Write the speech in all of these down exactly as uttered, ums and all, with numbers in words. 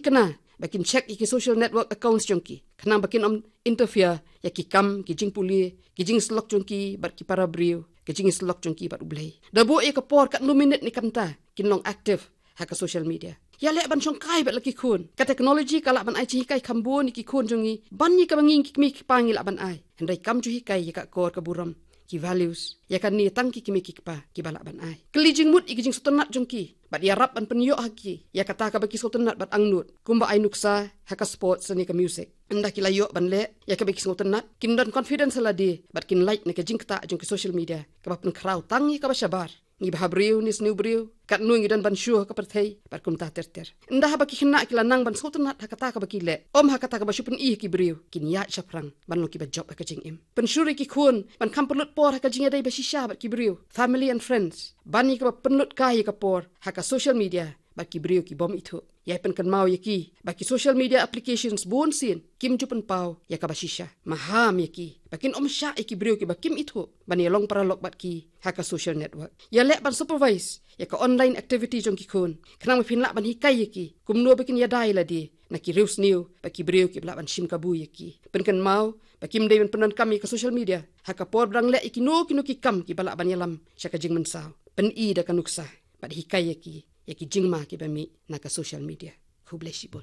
khynnah ba kin check ïa ki social network accounts jong ki, khnang ba kin ym interfere ïa ki kam, ki jingpule, ki jingsyllok jong ki bad ki para briew, ki jingsyllok jong ki bad U Blei. Da buh ïa ka por katno minit ne kynta kin long active ha ka social media. Ïaleh ban shongkai bad la ki khun. Ka technology ka lah ban ai jinghikai kham bun ïa ki khun jong ngi ban ïa kaba ngi ki kmie ki kpa ngi lah ban ai. Hynrei kam ju hikai ïa ka akor ka burom, ki values, ïa kane tang ki kmie ki kpa kiba lah ban ai. Kylli jingmut ïa ki jingsngewtynnat jong ki bad ïarap ban pynïoh ha ki ïa kata kaba ki sngewtynnat bad angnud, kumba ai nuksa ha ka sports ne ka music. Ynda ki la ïoh ban leh ïa kaba ki sngewtynnat, kin don confidence ha lade bad kin lait na ka jingktah jong ki social media kaba pynkhraw tang ïa kaba shabar. Ngi bha briew ne sniew briew, katno ngi don ban shu ha ka pyrthei bad kumta ter ter. Ynda haba ki khynnah ki la nang ban sngewtynnat ha kata kaba ki leh, ym ha kata kaba shu pyni ha ki briew, kin ïaid shaphrang ban long kiba jop ha ka jingim. Pynshlur ïa ki khun ban kham pynlut por ha ka jingïadei ba shisha bad ki briew, family and friends, ban ïa kaba pynlut kai ïa ka por ha ka social media bad ki briew ki bym ithuh. Ïai pynkynmaw ïa ki ba ki social media applications bun sien kim ju pynpaw ïa kaba shisha. Maham ïa ki ba kin ym shah ïa ki briew kiba kim ithuh ban ïalong paralok bad ki ha ka social network. Ïaleh ban supervise ïa ka online activity jong ki khun, khnang ba phin lah ban hikai ïa ki kumno ba kin ïada ïa lade na ki riewsniew bad ki briew kiba lah ban shim kabu ïa ki. Pynkynmaw ba kim dei ban pyndonkam ïa ka social media ha ka por ba dang leh ïa kino kino ki kam kiba lah ban ïalam sha ka jingmynsaw. Pyni da ka nuksa bad hikai ïa ki ïa ki jingma kiba mih na ka social media. Khublei shibun.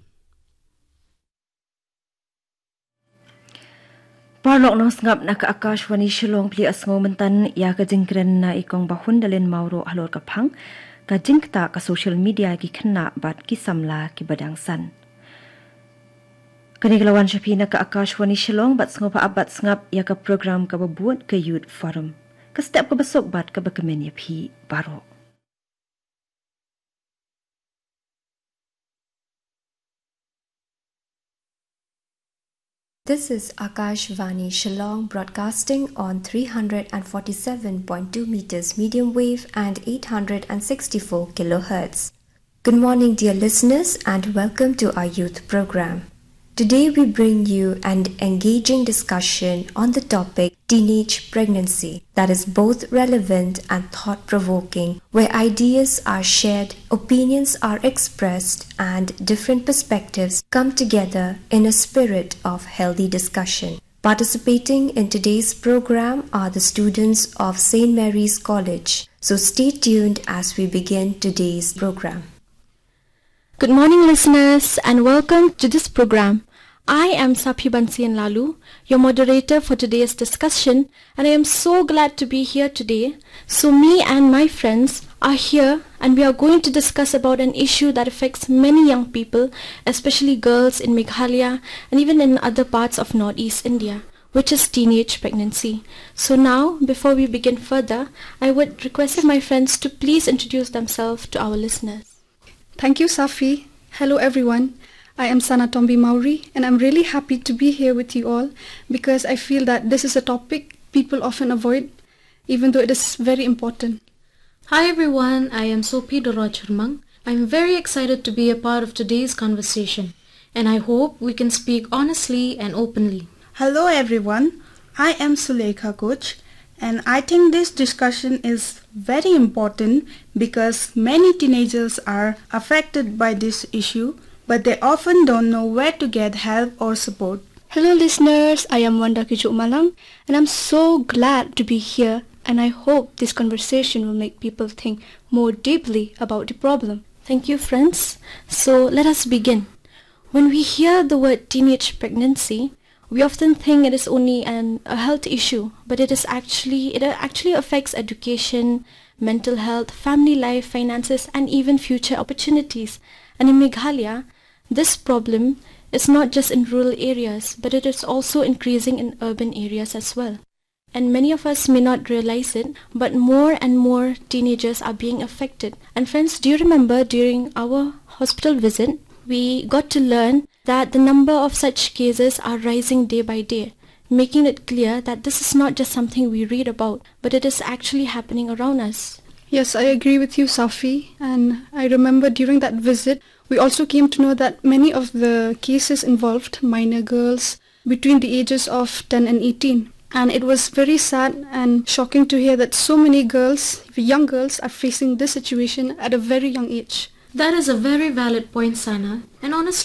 Paralok nongsngap na ka Akashvani Shillong, phi la ïohsngew mynta ïa ka jingkren na i Kong Bahun Dalin Mawroh halor ka phang ka jingktah ka social media ki khynnah bad ki samla kiba dang san. Kane ka la wan sha phi na ka Akashvani Shillong, bad sngewbha ap bad sngap ïa ka program kaba bud ka Youth Forum. Ka step kaba suk bad kaba kmen ïa phi baroh. This is Akashvani Shillong, broadcasting on three hundred and forty-seven point two meters medium wave and eight hundred and sixty-four kilohertz. Good morning, dear listeners, and welcome to our youth program. Today we bring you an engaging discussion on the topic teenage pregnancy that is both relevant and thought-provoking, where ideas are shared, opinions are expressed, and different perspectives come together in a spirit of healthy discussion. Participating in today's program are the students of Saint Mary's College. So stay tuned as we begin today's program. Good morning, listeners, and welcome to this program. I am Saphi Bansian Lalu, your moderator for today's discussion, and I am so glad to be here today. So me and my friends are here, and we are going to discuss about an issue that affects many young people, especially girls in Meghalaya and even in other parts of Northeast India, which is teenage pregnancy. So now, before we begin further, I would request my friends to please introduce themselves to our listeners. Thank you, Safi. Hello, everyone. I am Sana Tombi Mauri, and I'm really happy to be here with you all because I feel that this is a topic people often avoid, even though it is very important. Hi, everyone. I am Sophie Dorwa Churmang. I'm very excited to be a part of today's conversation, and I hope we can speak honestly and openly. Hello, everyone. I am Suleikha Koch, and I think this discussion is very important because many teenagers are affected by this issue, but they often don't know where to get help or support. Hello, listeners. I am Wanda Kichuk Malang, and I'm so glad to be here, and I hope this conversation will make people think more deeply about the problem. Thank you, friends. So, let us begin. When we hear the word teenage pregnancy, we often think it is only an, a health issue, but it is actually, it actually affects education, mental health, family life, finances, and even future opportunities. And in Meghalaya, this problem is not just in rural areas, but it is also increasing in urban areas as well. And many of us may not realize it, but more and more teenagers are being affected. And friends, do you remember during our hospital visit, we got to learn that the number of such cases are rising day by day, making it clear that this is not just something we read about, but it is actually happening around us. Yes, I agree with you, Safi. And I remember during that visit, we also came to know that many of the cases involved minor girls between the ages of ten and eighteen. And it was very sad and shocking to hear that so many girls, young girls, are facing this situation at a very young age. That is a very valid point, Sana. And honestly,